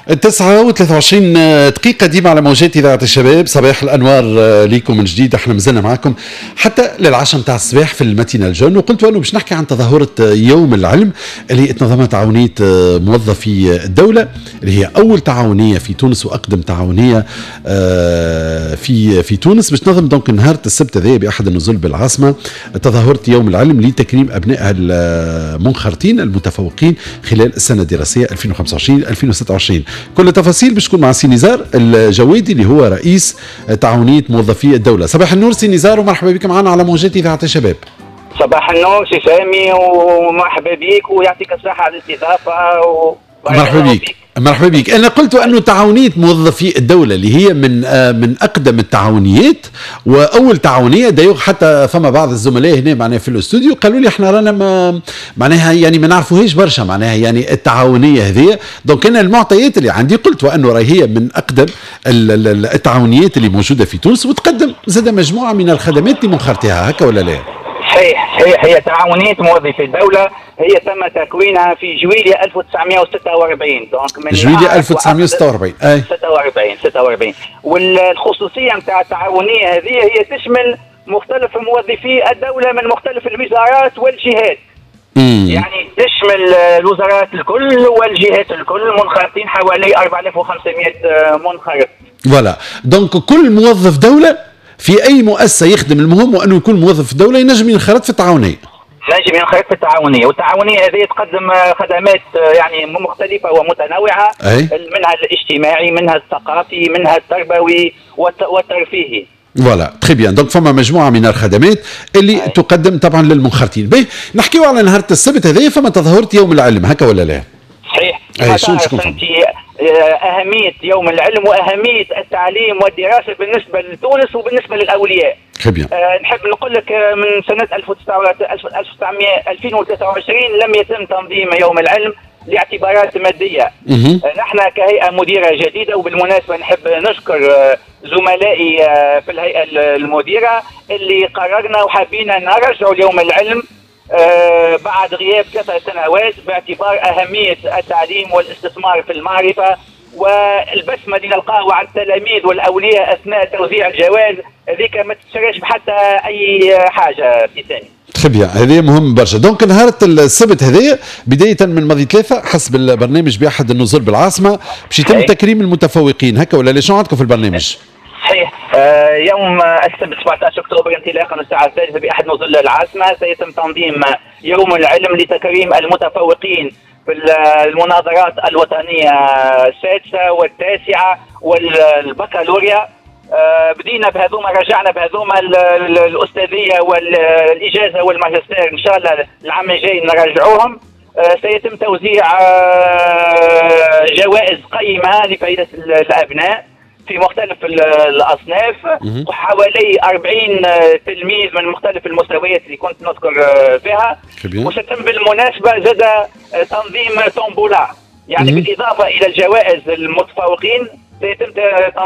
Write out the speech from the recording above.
9:23 ديما على موجات إذاعة الشباب. صباح الأنوار ليكم من جديد. احنا مازلنا معكم حتى للعشرة متاع الصباح في ال matinale jeune، وقلت أنه باش نحكي عن تظاهرة يوم العلم اللي تنظمها تعاونية موظفي الدولة، اللي هي أول تعاونية في تونس وأقدم تعاونية في تونس، باش تنظم donc نهار السبت هذا بأحد النزل بالعاصمة تظاهرة يوم العلم لتكريم أبنائها المنخرطين المتفوقين خلال السنة الدراسية 2025 2026. كل التفاصيل باش تكون مع سي نزار الجوادي اللي هو رئيس تعاونية موظفي الدولة. صباح النور سي نزار ومرحبا بك معنا على موجات إذاعة الشباب. صباح النور سي سامي ومرحبا بك ويعطيك الصحة على الاستضافة. مرحبا بك، مرحبا بك. انا قلت انه تعاونية موظفي الدولة اللي هي من اقدم التعاونيات واول تعاونيه، d'ailleurs حتى فما بعض الزملاء هنا معناها في الاستوديو قالوا لي احنا رانا ما معناها يعني ما نعرفوهاش برشا معناها يعني التعاونية هذه. donc انا المعطيات اللي عندي قلت وانه راهي هي من اقدم التعاونيات اللي موجودة في تونس وتقدم زاد مجموعة من الخدمات لمنخرطيها، هكا ولا لا؟ صحيح صحيح، هي تعاونية موظفي الدولة هي تم تكوينها في جويلية 1946. donc من جويلية 1946. اي 46 46. والخصوصية نتاع التعاونية هذه هي تشمل مختلف موظفي الدولة من مختلف الوزارات والجهات. يعني تشمل الوزارات الكل والجهات الكل، منخرطين حوالي 4500 منخرط. voilà، donc كل موظف دولة في اي مؤسسة يخدم، المهم انه يكون موظف دولة ينجم ينخرط في التعاونيه. نجم ينخرط في التعاونيه، والتعاونيه هذه تقدم خدمات يعني مختلفة ومتنوعه. منها الاجتماعي، منها الثقافي، منها التربوي والترفيهي. voilà، très bien. donc فما مجموعة من الخدمات اللي تقدم طبعا للمنخرطين. باهي، نحكيو على نهار السبت هذايا، فما تظاهرة يوم العلم، هكا ولا لا؟ صحيح. اي شنو شكون انت اهمية يوم العلم واهمية التعليم والدراسة بالنسبة لتونس وبالنسبة للاولياء. نحب نقول لك من سنة 1900 2023 لم يتم تنظيم يوم العلم لاعتبارات ماديه. نحن كهيئة مديره جديده، وبالمناسبة نحب نشكر زملائي في الهيئة المديرة اللي قررنا وحابين نرجعوا اليوم العلم بعد غياب 3 سنوات، باعتبار اهمية التعليم والاستثمار في المعرفة والبسمه اللي نلقاها على التلاميذ والاولياء اثناء توزيع الجوائز، هذيك ما تشتريش بحتى اي حاجة في ثاني. très bien، هذا مهم برشا. donc نهار السبت هذايا بداية من ماضي 3 حسب البرنامج بأحد النزل بالعاصمة باش يتم تكريم المتفوقين، هكا ولا؟ شنو عندكم في البرنامج؟ صحيح، يوم السبت 17 اكتوبر انطلاقا من الساعة 3 باحد نزل العاصمة سيتم تنظيم يوم العلم لتكريم المتفوقين في المناظرات الوطنية السادسة والتاسعه والبكالوريا. بدينا بهذوما، رجعنا بهذوما الاستاذيه والاجازه والماجستير، ان شاء الله العام الجاي نرجعوهم. سيتم توزيع جوائز قيمة لفائدة الابناء في مختلف الاصناف، وحوالي 40 تلميذ من مختلف المستويات اللي كنت نذكر فيها. وستم بالمناسبة زاد تنظيم tombola، يعني بالاضافة الى الجوائز المتفوقين سيتم